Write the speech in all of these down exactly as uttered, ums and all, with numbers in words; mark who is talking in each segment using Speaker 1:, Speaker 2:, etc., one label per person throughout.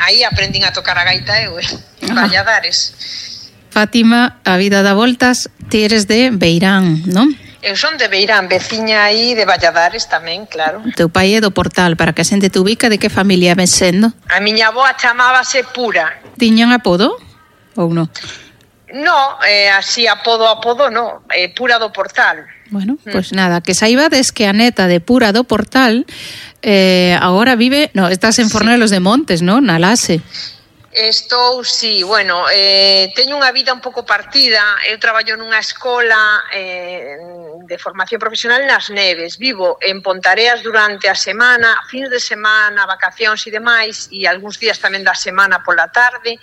Speaker 1: aí aprendín a tocar a gaita eu, eh, en Valladares.
Speaker 2: Fátima, a vida dá voltas, ti eres de Beirán, non?
Speaker 1: Eu son de Beirán, veciña aí de Valladares tamén, claro.
Speaker 2: O teu pai é do Portal, para que a xente te ubica, de que familia ven sendo?
Speaker 1: A miña avoa chamábase Pura.
Speaker 2: Tiñan apodo ou non?
Speaker 1: No, eh, así apodo apodo no, eh, Pura do Portal.
Speaker 2: Bueno, mm. Pues nada, que saibades que a neta de Pura do Portal eh, agora vive, no, estás en Fornelos sí. de Montes, non? Na Lase.
Speaker 1: Estou, sí, bueno, eh, teño unha vida un pouco partida. Eu traballo nunha escola eh, de formación profesional nas Neves. Vivo en Pontareas durante a semana, fins de semana, vacacións e demais, e algúns días tamén da semana pola tarde.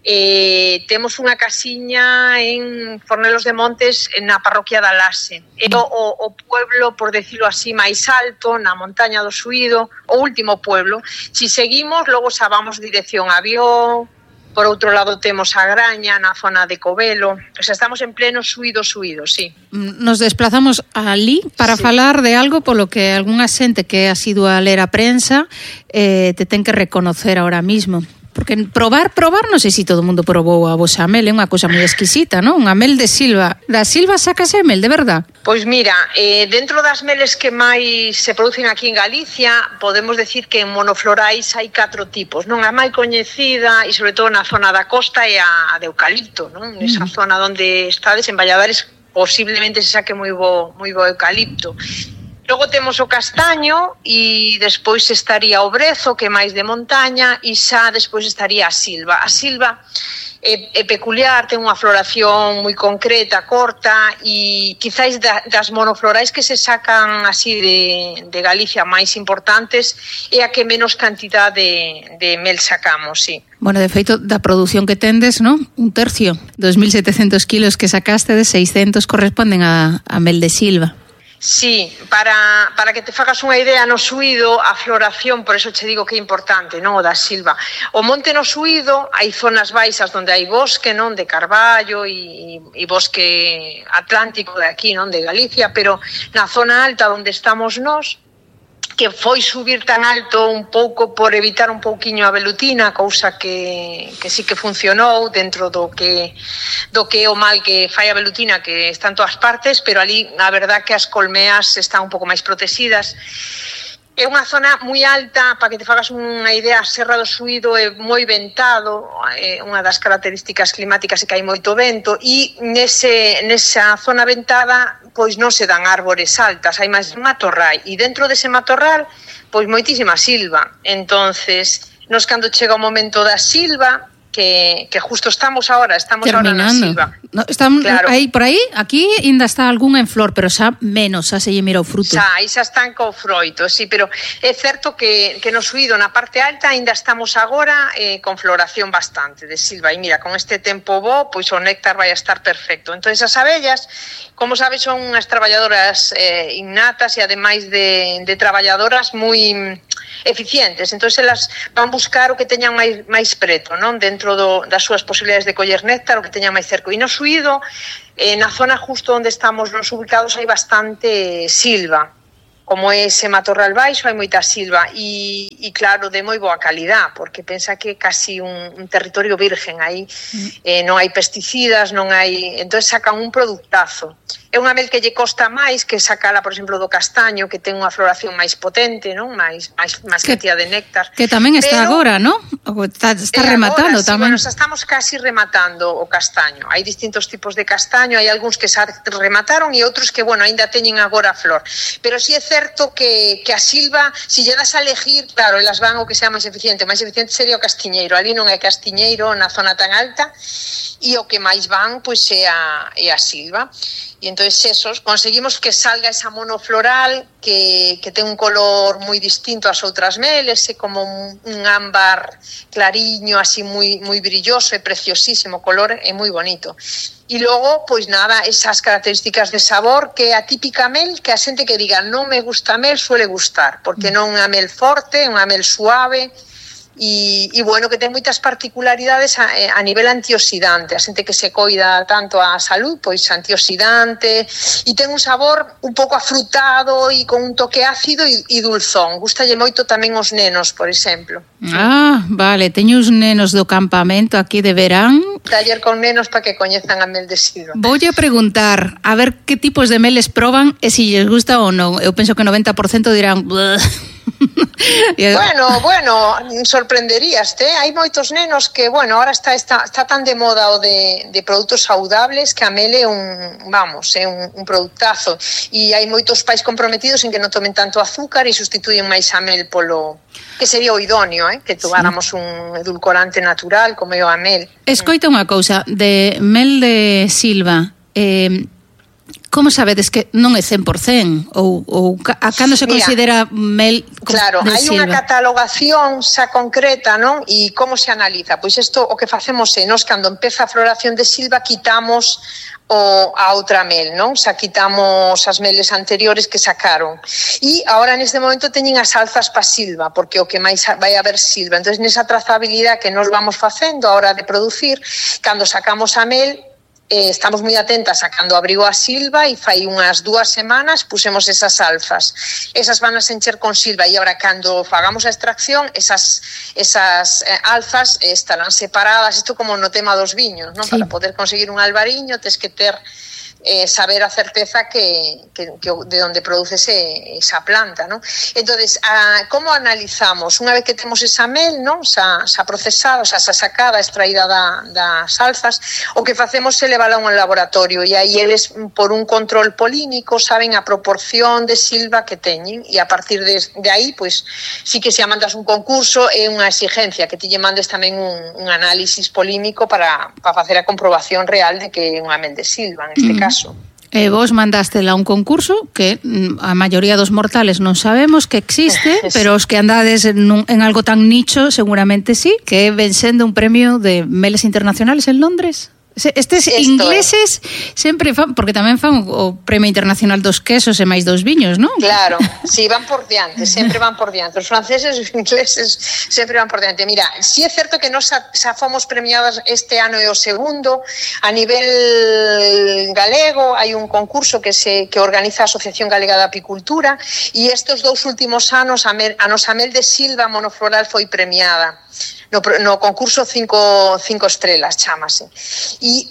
Speaker 1: Eh, temos unha casiña en Fornelos de Montes na parroquia da Lase. É o, o pueblo, por decirlo así, máis alto na montaña do Suído, o último pueblo. Si seguimos, logo xa vamos dirección a Vió. Por outro lado temos a Graña na zona de Covelo. O sea, estamos en pleno Suído, Suído, sí.
Speaker 2: Nos desplazamos alí para sí. falar de algo polo que algunha xente que ha sido a ler a prensa eh, te ten que reconocer ahora mismo. Porque probar, probar, non sei se todo o mundo probou a vosa mel, é unha cousa moi exquisita, non? Unha mel de Silva. Da Silva sacase mel, de verdad?
Speaker 1: Pois mira, eh, dentro das meles que máis se producen aquí en Galicia, podemos decir que en monoflorais hai catro tipos, non? A máis coñecida, e sobre todo na zona da costa, é a de eucalipto, non? Esa mm. zona onde estades, en Valladares, posiblemente se saque moi bo, moi bo eucalipto. Logo temos o castaño e despois estaría o brezo, que é máis de montaña, e xa despois estaría a silva. A silva é, é peculiar, ten unha floración moi concreta, corta, e quizáis da, das monoflorais que se sacan así de, de Galicia máis importantes é a que menos cantidad de, de mel sacamos, sí.
Speaker 2: Bueno, de feito, da produción que tendes, non? Un tercio. dos mil setecentos kilos que sacaste, de seiscentos corresponden a, a mel de silva.
Speaker 1: Sí, para, para que te fagas unha idea, no Suído a floración, por eso che digo que é importante, non, o da silva. O monte no Suído hai zonas baixas onde hai bosque, non, de carballo e, e bosque atlántico de aquí, non, de Galicia, pero na zona alta onde estamos nós, que foi subir tan alto un pouco por evitar un pouquiño a velutina, cousa que, que sí que funcionou dentro do que do que é o mal que fai a velutina, que está en todas partes, pero ali a verdad que as colmeas están un pouco máis protegidas. É unha zona moi alta, para que te fagas unha idea, a Serra do Suído é moi ventado, é unha das características climáticas é que hai moito vento, e nese, nesa zona ventada pois non se dan árbores altas, hai máis matorral, e dentro dese matorral pois moitísima silva. Entonces, nos cando chega o momento da silva, que, que justo estamos ahora, estamos
Speaker 2: terminando.
Speaker 1: Ahora na silva.
Speaker 2: No, están
Speaker 1: claro.
Speaker 2: aí, por aí, aquí ainda está algunha en flor, pero xa menos, xa se lle mira o fruto.
Speaker 1: Xa, aí xa están co froito, sí, pero é certo que, que no Suído, na parte alta, ainda estamos agora eh, con floración bastante de silva, e mira, con este tempo bo, pois o néctar vai a estar perfecto. Entón, as abellas, como sabes, son unhas traballadoras eh, innatas e ademais de, de traballadoras moi eficientes, entón elas van buscar o que teñan máis, máis preto, non? Dentro do, das súas posibilidades de coller néctar, o que teñan máis cerco. E no Suído, eh, na zona justo onde estamos nos ubicados, hai bastante silva. Como é ese matorral baixo, hai moita silva e, e claro, de moi boa calidad, porque pensa que é casi un, un territorio virgen aí, eh, non hai pesticidas, non hai, entón sacan un productazo. É unha mel que lle costa máis que sacala, por exemplo, do castaño, que ten unha floración máis potente, non? máis máis máis cantidad de néctar.
Speaker 2: Que tamén está pero, agora, non? Está, está rematando
Speaker 1: agora,
Speaker 2: tamén.
Speaker 1: Sí, bueno, estamos casi rematando o castaño. Hai distintos tipos de castaño, hai algúns que xa remataron e outros que, bueno, aínda teñen agora a flor. Pero si sí é certo que, que a silva, se lle das a elegir, claro, elas van o que sea máis eficiente. Máis eficiente sería o castiñeiro. Ali non é castiñeiro na zona tan alta, e o que máis van, pois, é a, é a silva. E entón, esos, conseguimos que salga esa monofloral que, que ten un color moi distinto ás outras meles, é como un, un ámbar clariño, así moi, moi brilloso, é preciosísimo color, é moi bonito. E logo, pois nada, esas características de sabor, que é a típica mel, que a xente que diga non me gusta a mel, suele gustar, porque non é unha mel forte, é unha mel suave, e, e bueno, que ten moitas particularidades a, a nivel antioxidante. A xente que se coida tanto a salud, pois antioxidante, e ten un sabor un pouco afrutado e con un toque ácido e, e dulzón. Gustalle moito tamén os nenos, por exemplo.
Speaker 2: Ah, vale, teño os nenos do campamento aquí de verán.
Speaker 1: Taller con nenos para que coñezan a mel de Silva.
Speaker 2: Voulle a preguntar, a ver que tipos de meles proban e se lles gusta ou non. Eu penso que o noventa por cento dirán...
Speaker 1: Bueno, bueno, sorprenderíaste, eh? Hai moitos nenos que, bueno, ahora está, está, está tan de moda o de, de produtos saudables que a mel é un, vamos, é un, un productazo, e hai moitos pais comprometidos en que non tomen tanto azúcar e sustituyen máis a mel polo, que sería o idóneo, eh? Que tomáramos sí. un edulcorante natural como é o a mel.
Speaker 2: Escoita unha cousa, de mel de Silva, eh, como sabedes que non é cen por cento ou, ou a cando se considera Mira, mel
Speaker 1: claro,
Speaker 2: de
Speaker 1: hai
Speaker 2: Silva?
Speaker 1: Unha catalogación xa concreta, non? E como se analiza? Pois isto o que facemos é, nós cando empeza a floración de Silva quitamos o, a outra mel, non? Xa quitamos as meles anteriores que sacaron. E agora neste momento teñen as alzas pa Silva, porque o que máis vai haber Silva. Entón, nesa trazabilidade que nos vamos facendo a hora de producir, cando sacamos a mel, Eh, estamos moi atentas a cando abrigo a Silva e fai unhas dúas semanas pusemos esas alfas. Esas van a se encher con Silva e agora cando fagamos a extracción esas, esas eh, alfas eh, estarán separadas. Isto como no tema dos viños, non? Sí. Para poder conseguir un albariño tes que ter eh, saber a certeza que, que, que de onde produce esa planta, ¿no? Entonces, a, como analizamos? Unha vez que temos esa mel, ¿no? Xa, xa procesada, xa, xa sacada, extraída da, das alzas, o que facemos é levala a un laboratorio e aí eles, por un control polínico, saben a proporción de silva que teñen e a partir de, de aí, pois, sí que se mandas un concurso é unha exigencia que ti lle mandes tamén un, un análisis polímico para, para facer a comprobación real de que é unha mel de silva, en este mm. caso.
Speaker 2: E vos mandástela a un concurso que a maioría dos mortales non sabemos que existe, pero os que andades en, un, en algo tan nicho seguramente sí, que ven sendo un premio de meles internacionales en Londres. Estes Esto ingleses é. sempre fan, porque tamén fan o Premio Internacional dos Quesos e máis dos viños, non?
Speaker 1: Claro, si, sí, van por diante, sempre van por diante. Os franceses e os ingleses sempre van por diante. Mira, si sí é certo que nos xa fomos premiadas este ano e o segundo. A nivel galego hai un concurso que se que organiza a Asociación Galega de Apicultura e estes dous últimos anos a, mer, a nosa mel de silva monofloral foi premiada. No, no concurso cinco, cinco estrelas, chámase. E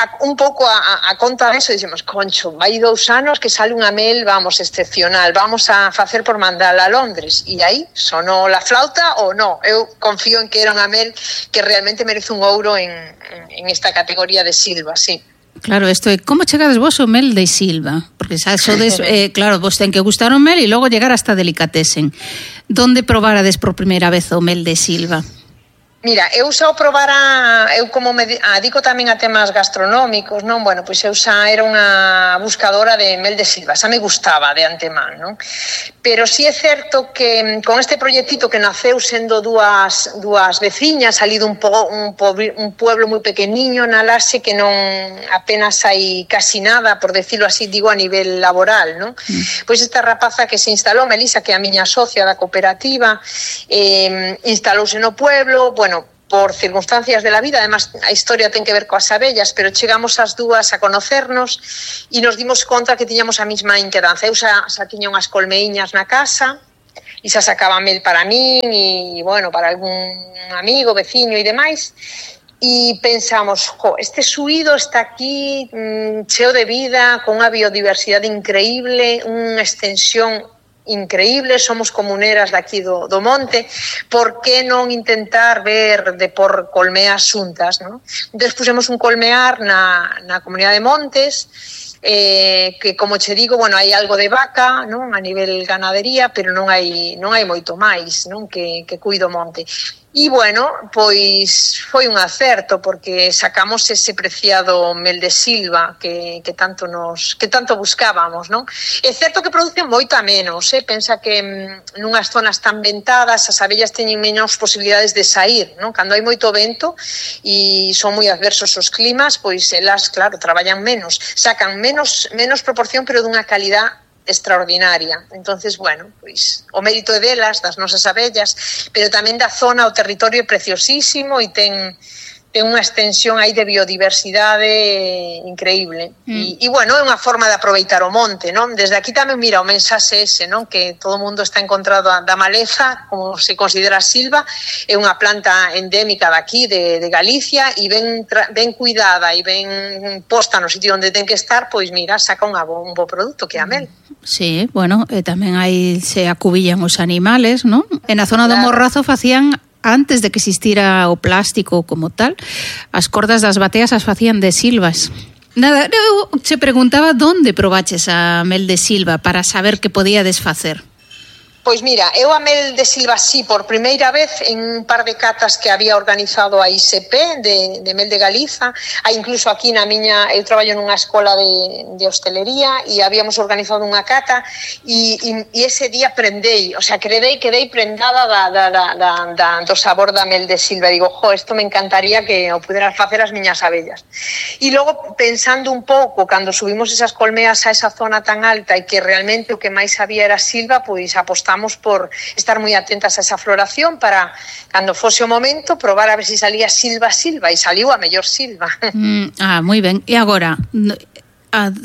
Speaker 1: a, un pouco a, a conta de eso, dicimos, concho, vai dous anos que sale unha mel, vamos, excepcional, vamos a facer por mandala a Londres. E aí, sonou la flauta ou non? Eu confío en que era unha mel que realmente merece un ouro en, en esta categoría de silva, sí.
Speaker 2: Claro, isto é, como chegades vos o mel de silva? Porque xa sodes, eh, claro, vos ten que gustar o mel e logo llegar hasta delicatesen. Donde probarades por primeira vez o mel de silva?
Speaker 1: Mira, eu xa o probara, eu como me adico tamén a temas gastronómicos, non? Bueno, pois eu xa era unha buscadora de mel de silva, xa me gustaba de antemán, non? Pero si sí é certo que con este proxectito que naceu sendo dúas, dúas veciñas, salido un, po, un, po, un pueblo moi pequeniño na Laxe que non apenas hai casi nada, por decirlo así, digo a nivel laboral, non? Mm. Pois esta rapaza que se instalou, Melisa, que é a miña socia da cooperativa, eh, instalouse no pueblo, bueno, por circunstancias de la vida, además a historia ten que ver coas abellas, pero chegamos as dúas a conocernos e nos dimos conta que tiñamos a mesma inquedanza. Eu xa, xa tiña unhas colmeíñas na casa e xa sacaba mel para min e, bueno, para algún amigo, veciño e demais. E pensamos, jo, este suído está aquí mmm, cheo de vida, con unha biodiversidade increíble, unha extensión increíble, somos comuneras daqui do, do monte, por que non intentar ver de por colmeas xuntas, non? Entón, pusemos un colmear na, na comunidade de Montes, eh, que, como che digo, bueno, hai algo de vaca, non? A nivel ganadería, pero non hai, non hai moito máis, non? Que, que cuido monte. E, bueno, pois foi un acerto porque sacamos ese preciado mel de silva que, que tanto nos que tanto buscábamos, non? É certo que producen moito a menos, eh? Pensa que mm, nunhas zonas tan ventadas as abellas teñen menos posibilidades de sair, non? Cando hai moito vento e son moi adversos os climas, pois elas, claro, traballan menos, sacan menos menos proporción, pero dunha calidad extraordinaria. Entonces, bueno, pois o mérito é delas, das nosas abellas, pero tamén da zona, o territorio é preciosísimo e ten ten unha extensión aí de biodiversidade increíble. Mm. E, e, bueno, é unha forma de aproveitar o monte, non? Desde aquí tamén, mira, o mensaxe ese, non? Que todo o mundo está encontrado da maleza, como se considera a silva, é unha planta endémica daqui, de, de Galicia, e ben, ben cuidada e ben posta no sitio onde ten que estar, pois, mira, saca un bo, un bo produto, que é a mel.
Speaker 2: Sí, bueno, e tamén aí se acubillan os animales, non? En a zona claro. do Morrazo facían, antes de que existira o plástico como tal, as cordas das bateas as facían de silvas. Nada, eu se preguntaba onde probaches a mel de silva para saber que podía desfacer.
Speaker 1: Pois mira, eu a mel de silva sí, por primeira vez en un par de catas que había organizado a I S P de, de mel de Galiza, hai incluso aquí na miña, eu traballo nunha escola de, de hostelería e habíamos organizado unha cata e, e, e ese día prendei, o sea, quedei, quedei prendada da, da, da, da, da, do sabor da mel de silva. Digo, jo, isto me encantaría que o puderan facer as miñas abellas. E logo, pensando un pouco, cando subimos esas colmeas a esa zona tan alta e que realmente o que máis había era silva, pois apostamos por estar moi atentas a esa floración para, cando fose o momento, probar a ver se si salía silva, silva, e saliu a mellor silva.
Speaker 2: Mm, ah, moi ben. E agora,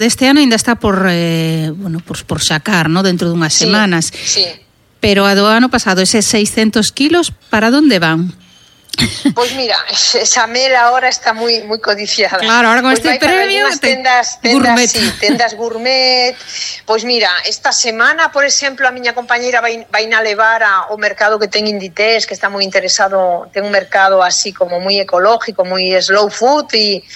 Speaker 2: este ano ainda está por, eh, bueno, por, por sacar, ¿no? Dentro dunhas
Speaker 1: sí,
Speaker 2: semanas.
Speaker 1: Sí.
Speaker 2: Pero a do ano pasado, eses seiscentos kilos, para onde van?
Speaker 1: Pois mira, esa mel ahora está moi moi codiciada.
Speaker 2: Claro, ahora con
Speaker 1: pues
Speaker 2: este premio
Speaker 1: tendas, tendas gourmet. Sí, tendas gourmet. Pois mira, esta semana, por exemplo, a miña compañeira vai vai na levar ao mercado que ten Inditex, que está moi interesado, ten un mercado así como moi ecológico, moi slow food e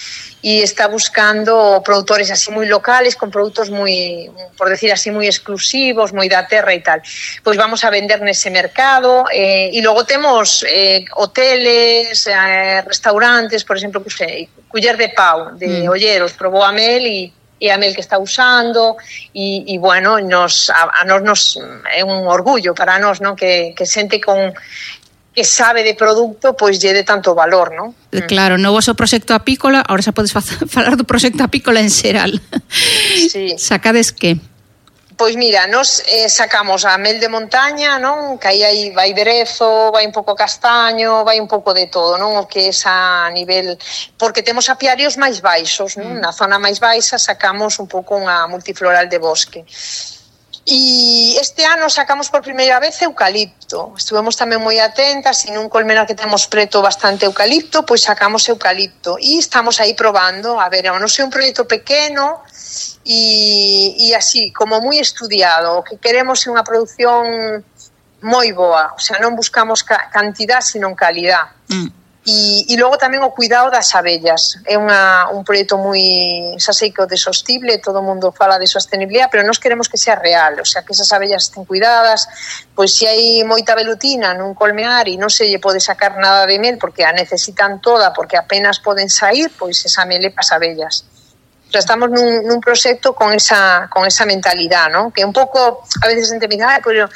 Speaker 1: e está buscando produtores así moi locales, con produtos moi, por decir así, moi exclusivos, moi da terra e tal. Pois vamos a vender nese mercado, eh, e logo temos eh, hoteles, eh, restaurantes, por exemplo, que sei, Culler de Pau, de mm. Olleros, probou a mel e e a mel que está usando e, e bueno, nos, a, a nos, nos é un orgullo para nós, non? Que, que xente con que sabe de produto, pois lle de tanto valor, non?
Speaker 2: Claro, no vosso proxecto apícola, ahora xa podes falar do proxecto apícola en xeral.
Speaker 1: Sí.
Speaker 2: Sacades que?
Speaker 1: Pois mira, nos eh, sacamos a mel de montaña, non? Que aí, aí vai brezo, vai un pouco castaño, vai un pouco de todo, non? O que é a nivel... Porque temos apiarios máis baixos, non? Mm. Na zona máis baixa sacamos un pouco unha multifloral de bosque. E este ano sacamos por primeira vez eucalipto. Estuvemos tamén moi atentas e nun colmenar que temos preto bastante eucalipto, pois sacamos eucalipto e estamos aí probando, a ver, non sei, un proxecto pequeno e, e así, como moi estudiado. O que queremos é unha produción moi boa, o sea, non buscamos ca- cantidad, sino calidad. Mm. E, e logo tamén o cuidado das abellas. É unha, un proxecto moi, xa sei que o de sostible, todo o mundo fala de sostenibilidade, pero nós queremos que sea real, o sea, que esas abellas estén cuidadas, pois se hai moita velutina nun colmear e non se lle pode sacar nada de mel porque a necesitan toda, porque apenas poden sair, pois esa mel é para as abellas. O sea, estamos nun, nun proxecto con esa, con esa mentalidade, ¿no? Que un pouco, a veces a xente me dice, ah, pero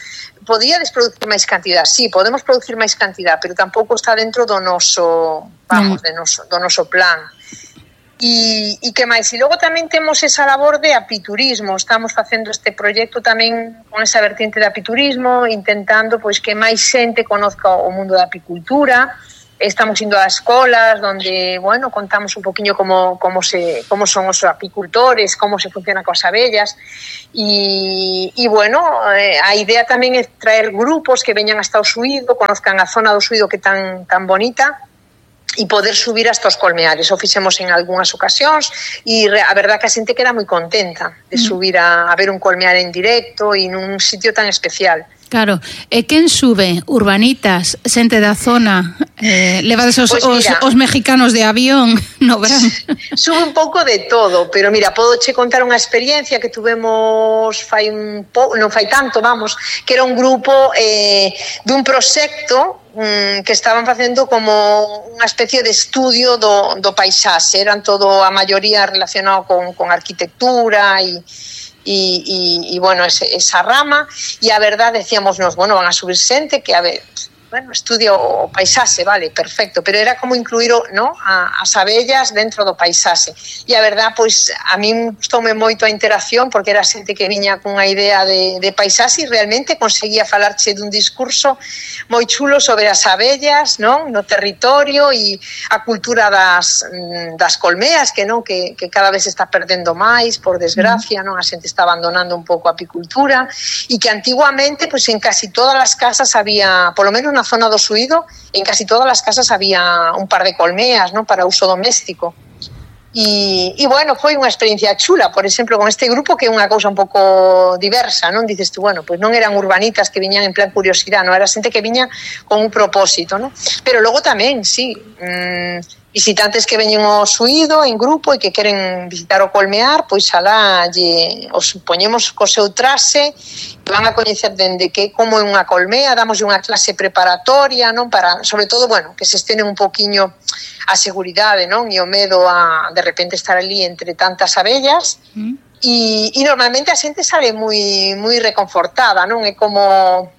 Speaker 1: podíades producir máis cantidad? Sí, podemos producir máis cantidad, pero tampouco está dentro do noso, vamos, de noso, do noso plan. E, e que máis? E logo tamén temos esa labor de apiturismo. Estamos facendo este proxecto tamén con esa vertiente de apiturismo, intentando pois que máis xente conozca o mundo da apicultura. Estamos indo a escolas donde, bueno, contamos un poquinho como, como, se, como son os apicultores, como se funciona coas abellas e, e bueno, eh, a idea tamén é traer grupos que veñan hasta o Suído, conozcan a zona do Suído que é tan, tan bonita e poder subir hasta os colmeares. O fixemos en algunhas ocasións e a verdad que a xente queda moi contenta de subir a, a ver un colmear en directo e nun sitio tan especial.
Speaker 2: Claro, e quen sube? Urbanitas, xente da zona, eh, levades os, pues mira, os, os mexicanos de avión no verán.
Speaker 1: Sube un pouco de todo, pero mira, podo che contar unha experiencia que tuvemos fai un pouco, non fai tanto, vamos, que era un grupo eh, dun proxecto um, que estaban facendo como unha especie de estudio do, do paisaxe, eran todo a maioría relacionado con, con arquitectura e E, e, e bueno, ese, esa rama, e a verdade decíamos nos, bueno, van a subir xente que a ver, bueno, estudia o paisaxe, vale, perfecto, pero era como incluir, ¿no?, a, as abellas dentro do paisaxe. E a verdad, pois, a min gustoume moito a interacción, porque era xente que viña cunha idea de, de paisaxe e realmente conseguía falarche dun discurso moi chulo sobre as abellas, non?, no territorio e a cultura das, das colmeas, que non que, que cada vez se está perdendo máis, por desgracia, non? A xente está abandonando un pouco a apicultura, e que antiguamente, pois, en casi todas as casas había, polo menos na zona do Suído, en casi todas as casas había un par de colmeas, non?, para uso doméstico. E, e bueno, foi unha experiencia chula, por exemplo, con este grupo, que é unha cousa un pouco diversa, non? Dices tú, bueno, pois non eran urbanitas que viñan en plan curiosidade, non, era xente que viña con un propósito, non? Pero logo tamén, sí, mmm, visitantes que veñen ao Suído en grupo e que queren visitar o colmear, pois alá lle, os poñemos co seu traxe, van a coñecer dende que como é unha colmea, damos unha clase preparatoria, non, para, sobre todo, bueno, que se estenen un poquiño a seguridade, non, e o medo a de repente estar ali entre tantas abellas. Mm. E, e normalmente a xente sale moi moi reconfortada, non? É como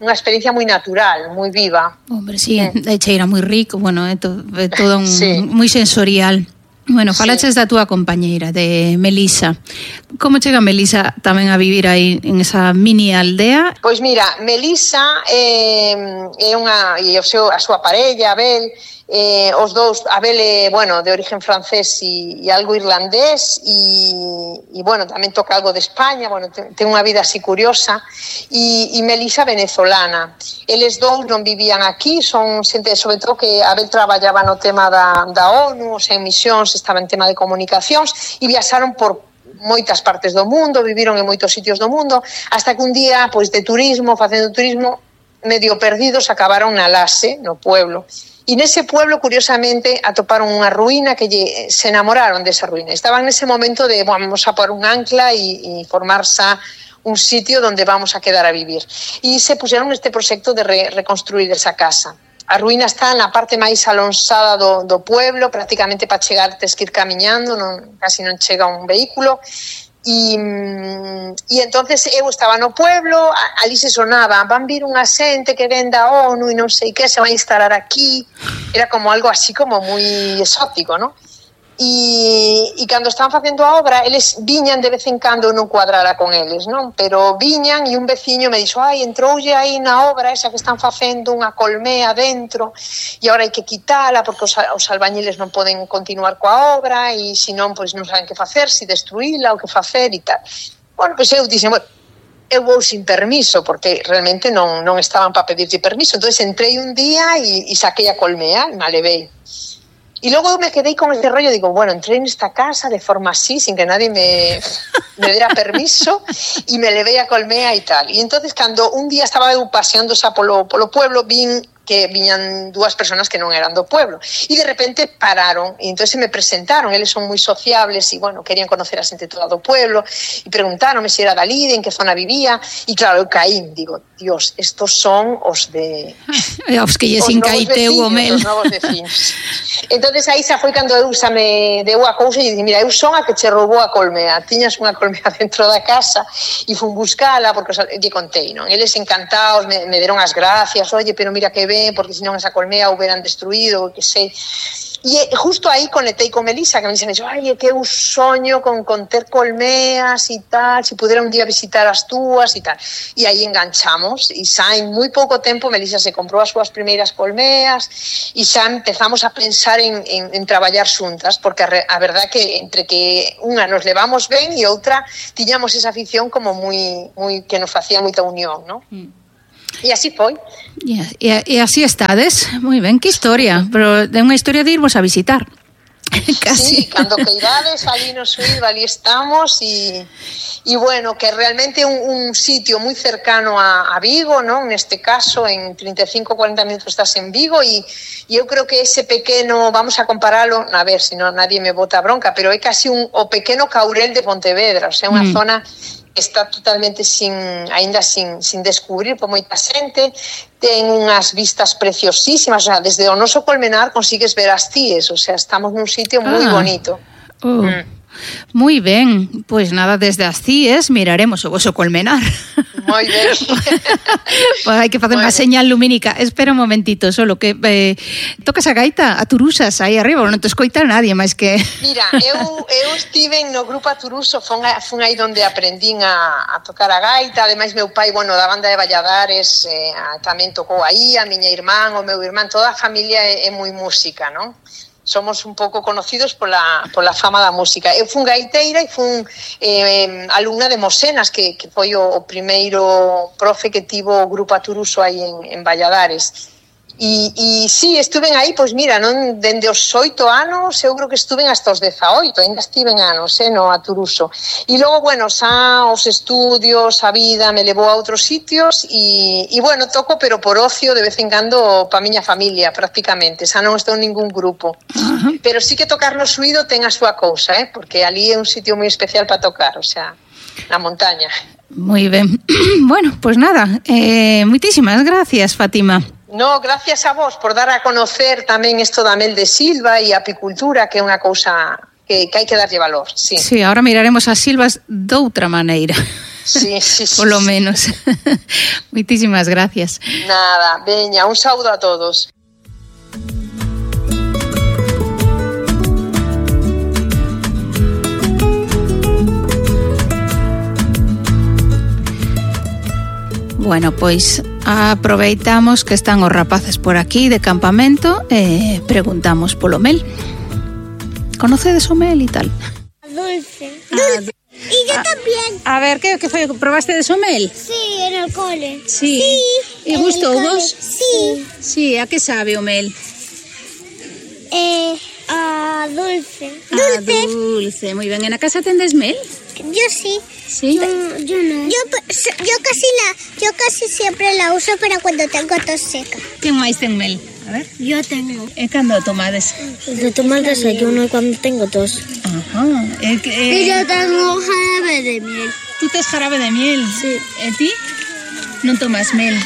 Speaker 1: unha experiencia moi natural, moi viva.
Speaker 2: Hombre, sí, mm. é cheira moi rico, bueno, é, to, é todo un, sí. moi sensorial. Bueno, falaches sí. da túa compañeira, de Melisa. Como chega Melisa tamén a vivir aí en esa mini aldea?
Speaker 1: Pois mira, Melisa é, é unha, e o seu, a súa parella, Abel, eh, os dous, Abel é, bueno, de origen francés e, e algo irlandés, e, e bueno, tamén toca algo de España, bueno, ten, ten unha vida así curiosa, e, e Melisa venezolana. Eles dous non vivían aquí, son xente, sobre todo que Abel traballaba no tema da, da ONU, o sea, en misións, estaba en tema de comunicacións, e viaxaron por moitas partes do mundo, viviron en moitos sitios do mundo, hasta que un día, pois, de turismo, facendo turismo, medio perdidos, acabaron na Lase, no pueblo. E nese pueblo, curiosamente, atoparon unha ruína que lle, se enamoraron desa ruína. Estaban nese momento de, bueno, vamos a por un ancla e, e formarse un sitio donde vamos a quedar a vivir. E se puseron neste proxecto de re, reconstruir esa casa. A ruína está na parte máis alonsada do, do pueblo, prácticamente para chegar tes que ir camiñando, non, casi non chega un vehículo. E, e entonces eu estaba no pueblo, ali se sonaba, van vir unha xente que ven da ONU e non sei que, se van a instalar aquí, era como algo así como moi exótico, non? E, e cando estaban facendo a obra, eles viñan de vez en cando, non cuadrara con eles, non? Pero viñan e un veciño me dixo, ai, entroulle aí na obra esa que están facendo unha colmea dentro e agora hai que quitala porque os, os albañiles non poden continuar coa obra e senón, pois non saben que facer, si destruíla ou que facer e tal. Bueno, pois eu dixen, bueno, eu vou sin permiso, porque realmente non, non estaban para pedirlle permiso. Entón entrei un día e, e saquei a colmea e me a levei. E logo me quedei con este rollo, digo, bueno, entrei nesta casa de forma así, sin que nadie me, me dera permiso, e me levei a colmea e tal. E entonces, cando un día estaba eu paseando xa polo, polo pueblo, vin que viñan dúas personas que non eran do pueblo. E de repente pararon, e entón me presentaron, eles son moi sociables, e bueno, querían conocer a xente toda do pueblo, e preguntaronme se era dali, en que zona vivía, e claro, eu caí, digo, Dios, estos son os de...
Speaker 2: os que lle sin caiteu o mel.
Speaker 1: Os novos vecinos. Entonces aí xa foi cando eu xa me deu a cousa e dixen, mira, eu son a que che roubou a colmea, tiñas unha colmea dentro da casa, e fun buscala, porque lle contei, non? Eles encantados, me, me deron as gracias, oye, pero mira que ben, porque senón esa colmea hubieran destruído, que sei. E justo aí conectei con Melisa, que me dixen, ai, que eu soño con, con ter colmeas e tal, se pudera un día visitar as túas e tal. E aí enganchamos, e xa en moi pouco tempo Melisa se comprou as súas primeiras colmeas, e xa empezamos a pensar en, en, en traballar xuntas, porque a, a verdad que entre que unha nos levamos ben e outra tiñamos esa afición como moi, moi que nos facía moita unión, non? Mm. E así foi.
Speaker 2: E, e, e así estades. Moi ben, que historia. Pero é unha historia de irvos a visitar.
Speaker 1: Casi. Sí, cando que irades, ali no Suído, ali estamos. E, e bueno, que realmente un, un sitio moi cercano a, a Vigo, non? Neste caso, en treinta e cinco a cuarenta minutos estás en Vigo. E, e eu creo que ese pequeno, vamos a comparalo, a ver, se non nadie me bota bronca, pero é casi un, o pequeno Caurel de Pontevedra. O sea, unha mm. zona... está totalmente sin, ainda sin, sin descubrir por moita xente, ten unhas vistas preciosísimas, o sea, desde o noso colmenar consigues ver as Cíes, o sea, estamos nun sitio moi ah. bonito.
Speaker 2: Oh. Mm. Moi ben, pois nada, desde as CIES miraremos o voso colmenar.
Speaker 1: Moi ben.
Speaker 2: Pois hai que facer unha señal lumínica. Espera un momentito, solo que eh, tocas a gaita, a turusas aí arriba, non te escoita nadie máis que...
Speaker 1: Mira, eu, eu estive no grupo Aturuso, fun, fun aí donde aprendín a, a tocar a gaita, ademais meu pai, bueno, da banda de Valladares, eh, tamén tocou aí, a miña irmán, o meu irmán, toda a familia é, é moi música, non? Somos un pouco conocidos pola, pola fama da música. Eu fun gaiteira e fun eh, alumna de Mosenas, que, que foi o, o primeiro profe que tivo o grupo Aturuso aí en, en Valladares. E, e sí, estuven aí, pois mira, non dende os oito anos, eu creo que estuven hasta os dezaoito, ainda estiven anos, eh, no Aturuso. E logo, bueno, xa os estudios, a vida me levou a outros sitios e, e bueno, toco, pero por ocio, de vez en cando, pa miña familia, prácticamente, xa non estou en ningún grupo. Uh-huh. Pero sí que tocar no suído ten a súa cousa, eh, porque ali é un sitio moi especial para tocar, o sea, na montaña.
Speaker 2: Moi ben. Bueno, pois pues nada, eh, moitísimas gracias, Fátima.
Speaker 1: No, gracias a vos por dar a conocer tamén isto da mel de silva e a apicultura, que é unha cousa que, que hai que darlle valor. Sí,
Speaker 2: sí, ahora miraremos as silvas doutra maneira.
Speaker 1: Sí, sí, sí.
Speaker 2: Por lo menos. Moitísimas gracias.
Speaker 1: Nada, veña, un saúdo a todos.
Speaker 2: Bueno, pois aproveitamos que están os rapaces por aquí de campamento e preguntamos polo mel. Conocedes o mel e tal?
Speaker 3: Dulce. Dulce. Ah, y yo ah, también.
Speaker 2: A ver, que, que foi? Probaste de o mel?
Speaker 3: Sí, en el cole.
Speaker 2: Sí.
Speaker 3: Sí.
Speaker 2: E gustou vos?
Speaker 3: Sí.
Speaker 2: Sí, a que sabe o mel?
Speaker 3: Eh, a dulce.
Speaker 2: A dulce. Dulce, moi ben. En a casa tendes mel?
Speaker 3: Yo sí.
Speaker 2: ¿Sí?
Speaker 3: Yo, yo no. Yo, yo casi la, yo casi siempre la uso para cuando tengo tos seca.
Speaker 2: ¿Qué máis ten mel? A ver.
Speaker 3: Yo tengo.
Speaker 2: E cando tomades?
Speaker 3: Yo tomo el desayuno cuando tengo tos.
Speaker 2: Ajá. E, que, eh...
Speaker 3: y yo tengo jarabe de miel.
Speaker 2: Tú tes jarabe de miel?
Speaker 3: Sí.
Speaker 2: E ti? Non tomas mel.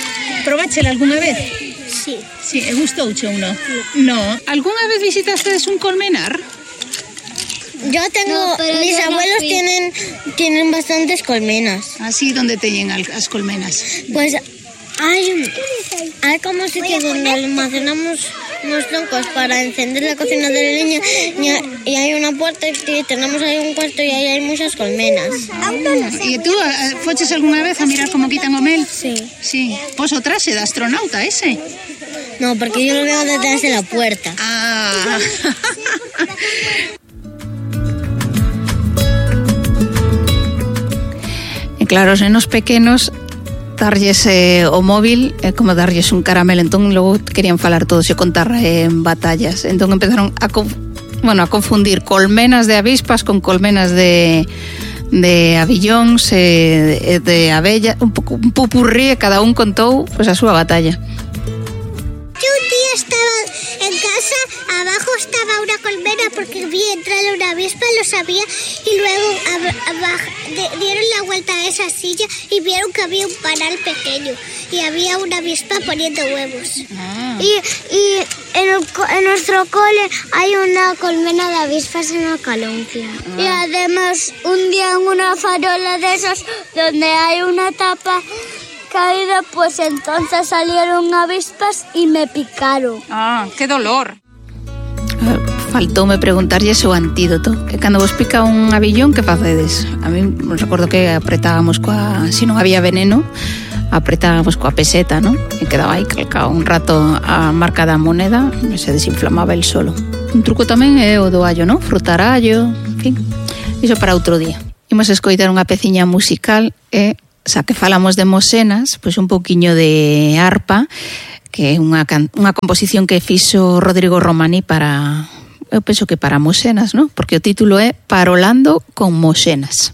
Speaker 2: Probáchela algunha vez?
Speaker 3: Sí.
Speaker 2: Sí, e gustouche ou non? No. Algunha vez visitastes un colmenar?
Speaker 3: Yo tengo, no, mis abuelos no tienen tienen bastantes colmenas.
Speaker 2: Así, ¿dónde teñen as colmenas?
Speaker 3: Pues hay, hay como sitios donde almacenamos unos troncos para encender la cocina de la leña y, y hay una puerta y tenemos ahí un cuarto y ahí hay muchas colmenas.
Speaker 2: Ah, ¿y tú foches alguna vez a mirar cómo quitan o mel?
Speaker 3: Sí.
Speaker 2: Sí. Pues o traxe de astronauta ese?
Speaker 3: No, porque yo lo veo detrás de la puerta.
Speaker 2: Ah. Claro, os nenos pequenos darlles eh, o móvil é eh, como darlles un caramelo, entón logo querían falar todos e contar eh, en batallas, entón empezaron a conf- bueno, a confundir colmenas de avispas con colmenas de de abillóns e eh, de abella, un pouco un pupurrí, e cada un contou pois pues, a súa batalla.
Speaker 3: Yo un día estaba en casa, abajo estaba una colmena porque vi entrar una avispa, lo sabía, y luego ab- abajo, de, dieron la vuelta a esa silla y vieron que había un panal pequeño y había una avispa poniendo huevos. Ah. Y, y en, el, en nuestro cole hay una colmena de avispas en la caloncia. Ah. Y además un día en una farola de esas donde hay una tapa caída, pues entonces salieron avispas y me picaron.
Speaker 2: Ah, qué dolor. Faltoume preguntarlle o antídoto. Que cando vos pica un abillón, que facedes? A mí recordo que apretábamos coa... Si non había veneno, apretábamos coa peseta, non? E quedaba aí calcado un rato a marca da moneda e se desinflamaba el solo. Un truco tamén é o do allo, non? Frutar allo, en fin. Iso para outro día. Imos escoitar unha peciña musical e... xa que falamos de Mosenas, pois un pouquiño de arpa, que é unha, can- unha composición que fixo Rodrigo Romaní para, eu penso que para Mosenas, non? Porque o título é Parolando con Mosenas.